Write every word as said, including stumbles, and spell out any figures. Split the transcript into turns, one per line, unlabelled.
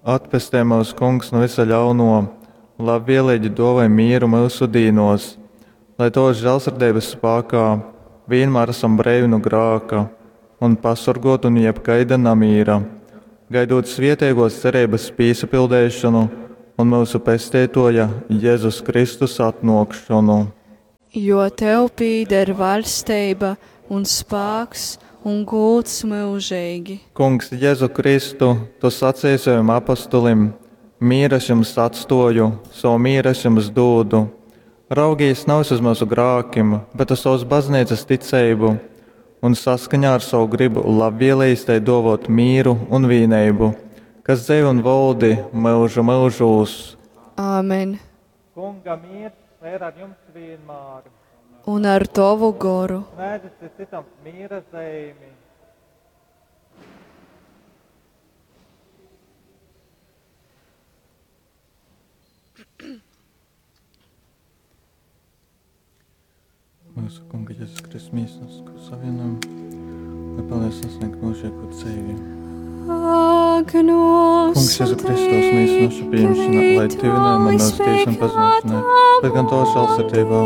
Atpestej myus, Kungs, nu visa ļauno, labvēlīgi dōvoj mīru myusu dīnōs, lai Tovas žālsirdeibas spākā vīnmār asam breivi nu grāka un pasorgōti nu jebkaida namīra, gaidūt svieteigōs cereibas pīsapildeišonu un myusu Pesteitōja Jezus Kristus atnōkšonu.
Jo tev pīder vaļsteiba un spāks un gūds myužeigi.
Kungs Jezu Kristu, tu saceji sovim apostolim, Mīru es jums atstōju, sovu mīru es jums dūdu. Raugīs navys uz myusu grākim, bet uz sovas bazneicas ticeibu un saskaņā ar sovu grybu labvēlejīs tai dōvōt mīru un vīneibu, kas dzeiv un voldi myužu myužūs.
Āmen.
Kunga miers lai ir ar jums vienmēr.
Un ar tovu goru.
Sniedzit citam miera zeimi. Mūsu Kunga Jēzus Kristus mīsas, ko savienojam, lai palīdz sasniegt mūžīgo dzīvi.
Ak, nos
Kungs, Jēzu Kristus mīsas nošu pieņemšana, lai tuvinājuma un mūsu tiesam pazušanai, bet gan to žēlsirdībā